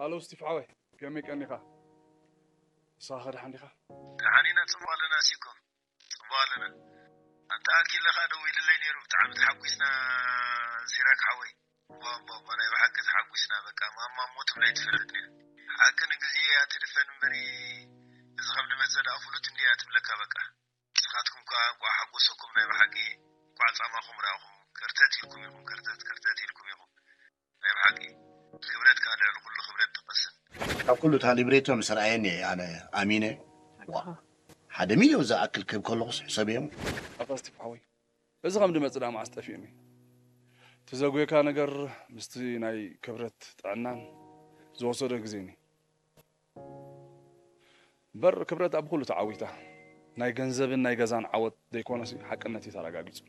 ሃሎ ስቲፍ ሓወይ፣ ከመይ ቀኒኻ? ንስኻ ከ ደሓን ዲኻ? ደሓን ኢና፣ ጽቡቕ ኣለና። ሲኮ፣ ጽቡቕ ኣለና። ኣንታ ኣኪለ ኸኣ ደዊልለይ ነይሩ፣ ብጣዕሚ ተሓጒስና። ሲራክ ሓወይ፣ እሞ እሞ እሞ ናይ ብሓቂ ተሓጒስና። በቃ ማማ እሞ ትብለይ ትፈልጥ ነይሩ። ሓቂ ንግዜ እያ ትድፈን እምበሪ፣ እዚ ከም ድመጸ ደኣ ፍሉጥ እንድያ ትብለካ። በቃ ንስኻትኩም ከኣ እንቋዕ ሓጎሰኩም። ናይ ብሓቂ እንቋዕ ጻማኹም ረኣኹም። ከርተት ኢልኩም ኢኹም፣ ከርተት ከርተት ኢልኩም ኢኹም። ናይ ብሓቂ ክብረት ከኣ ልዕሊ ኩሉ ክብረት ትቐስን። ካብ ኩሉ እታ ሊብሬቶ ምስ ረኣየኒ እየ ኣነ ኣሚነ። ዋ፣ ሓደ ሚልዮን ዝኣክል ክህብ ከለኹስ ሕሰብዮም። ኣታ ስቲፍ ሓወይ፣ እዚ ከም ድመጽእ ደኣ መዓስ ጠፊኡኒ? እቲ ዘጉየካ ነገር ምስቲ ናይ ክብረት ጥዕናን ዝወሰዶ ግዜኒ። እምበር ክብረት ኣብ ኩሉ ተዓዊታ። ናይ ገንዘብን ናይ ገዛን ዓወት ዘይኮነሲ ሓቅነት እዩ ተረጋጊጹ።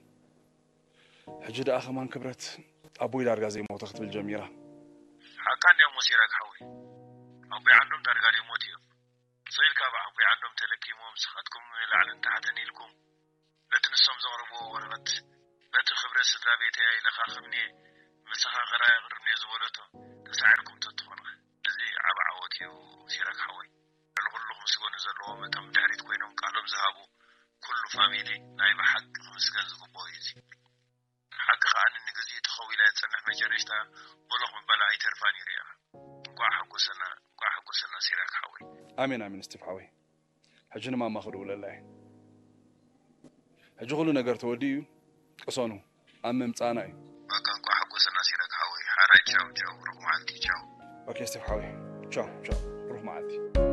ሕጂ ደኣ ከማን ክብረት ኣቦይ ዳርጋ ዘይሞተ ክትብል ጀሚራ። ሓቃ እንድያ እሞ ሲራክ ሓወይ፣ ኣቦይ ዓንዶም ዳርጋ ዘይሞቱ እዮም። ስቕ ኢልካ ብኣቦይ ዓንዶም ተለኪሞም፣ ንስኻትኩም ላዕልን ታሕትን ኢልኩም በቲ ንሶም ዘቕረብዎ ወረቐት፣ በቲ ክብረት ስድራ ቤተይ ኣይለኻኽምን'የ፣ መሰኻኽር ኣየቕርብን'የ ዝበለቶ ተሳዒርኩም ተትኾኑ፣ እዚ ዓቢ ዓወት እዩ ሲራክ ሓወይ። ልዕሊ ኩሉ ክምስገኑ ዘለዎም እቶም ብድሕሪት ኮይኖም ቃሎም ዝሃቡ ኩሉ ፋሚሊ ናይ ብሓቂ ክምስገን ዝግብኦ እዩ እዚ። ሓቂ ከኣ ንግዜኡ ተኸዊላ እያ ትጸንሕ፣ መጨረሽታ ቦሎኽ ምባላ ኣይተርፋን እዩ ርእያ። እንቋዕ ሓጎሰና፣ እንቋዕ ሓጎሰና ሲራክ ሓወይ። ኣሜን ኣሜን ስቲፍ ሓወይ። ሕጂ ንማማ ክድውለላ እየ። ሕጂ ኩሉ ነገር ተወዲኡ እዩ። ቅሰኑ፣ ኣብ ምምጻእና እዩ። በቃ እንቋዕ ሓጎሰና ሲራክ ሓወይ። ሓራይ ቻው ቻው፣ ብሩኽ መዓልቲ ቻው። ኦኬ ስቲፍ ሓወይ፣ ቻው ቻው፣ ብሩኽ መዓልቲ።